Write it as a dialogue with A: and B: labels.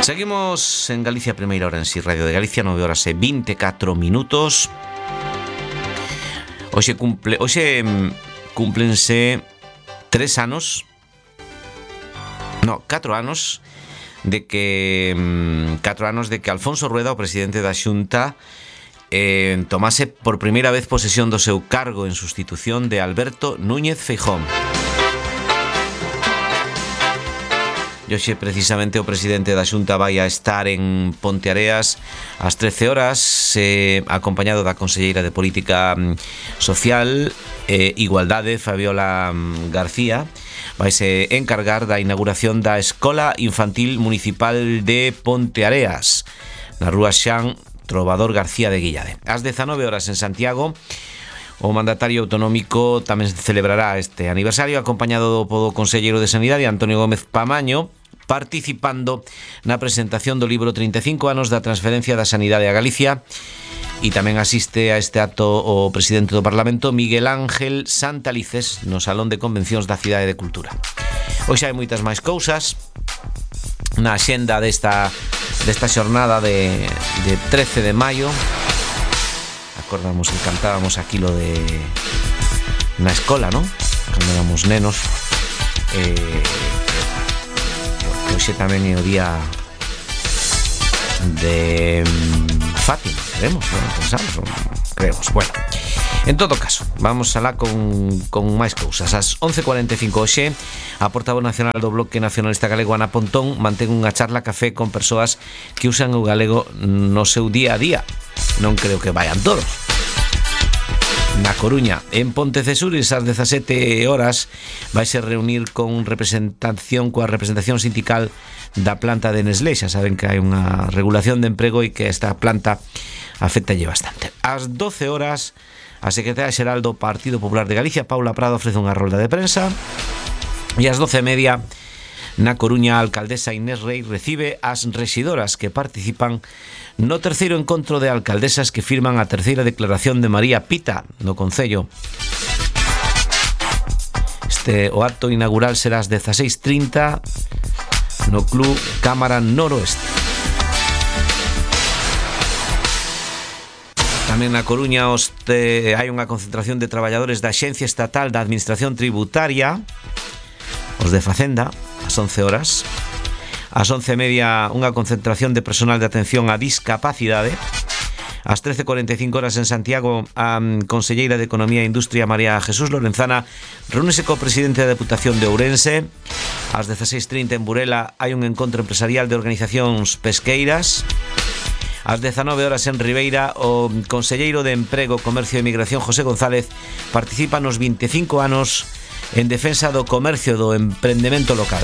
A: Seguimos en Galicia Primeira Hora en Si Radio de Galicia, 9 horas e 24 minutos. Hoxe cúmplense 4 anos de que Alfonso Rueda, o presidente da Xunta, tomase por primeira vez posesión do seu cargo en sustitución de Alberto Núñez Feijóo. E hoxe precisamente o presidente da Xunta vai a estar en Ponteareas ás 13 horas, acompañado da conselleira de Política Social e Igualdade, Fabiola García. Vaise encargar da inauguración da Escola Infantil Municipal de Ponteareas, na rúa Xan Trovador García de Guillade. Ás 19 horas en Santiago, o mandatario autonómico tamén celebrará este aniversario, acompañado do conselleiro de Sanidade, Antonio Gómez Pamaño, participando na presentación do libro 35 anos da transferencia da sanidade a Galicia. E tamén asiste a este acto o presidente do Parlamento, Miguel Ángel Santalices, no Salón de Convencións da Cidade de Cultura. Hoxe hai moitas máis cousas na axenda desta xornada de 13 de maio. Acordamos que cantábamos aquilo de na escola, non? Cando éramos nenos. Hoxe tamén é o día de Fátima, creemos. Bueno, en todo caso, vamos alá con máis cousas. Ás 11:45 hoxe, a portavoz nacional do Bloque Nacionalista Galego, Ana Pontón, mantén unha charla café con persoas que usan o galego no seu día a día. Non creo que vayan todos. Na Coruña, en Pontecesures, ás 17 horas, vaise reunir coa representación sindical da planta de Nestlé. Xa saben que hai unha regulación de emprego e que esta planta afectalle bastante. Ás 12 horas, a secretaria xeral do Partido Popular de Galicia, Paula Prado, ofrece unha rolda de prensa. E ás 12:30, na Coruña, a alcaldesa Inés Rei recibe as rexidoras que participan no terceiro encontro de alcaldesas que firman a terceira declaración de María Pita no Concello. O acto inaugural será ás 16:30 no Club Cámara Noroeste. Tamén na Coruña hai unha concentración de traballadores da Axencia Estatal da Administración Tributaria, os de Facenda, ás 11 horas. Ás 11:30, unha concentración de personal de atención á discapacidade. Ás 13:45 horas en Santiago, a conselleira de Economía e Industria, María Jesús Lorenzana, reúnese co presidente da Deputación de Ourense. Ás 16:30 en Burela hai un encontro empresarial de organizacións pesqueiras. Ás 19 horas en Ribeira, o conselleiro de Emprego, Comercio e Migración, José González, participa nos 25 anos en defensa do comercio do emprendemento local.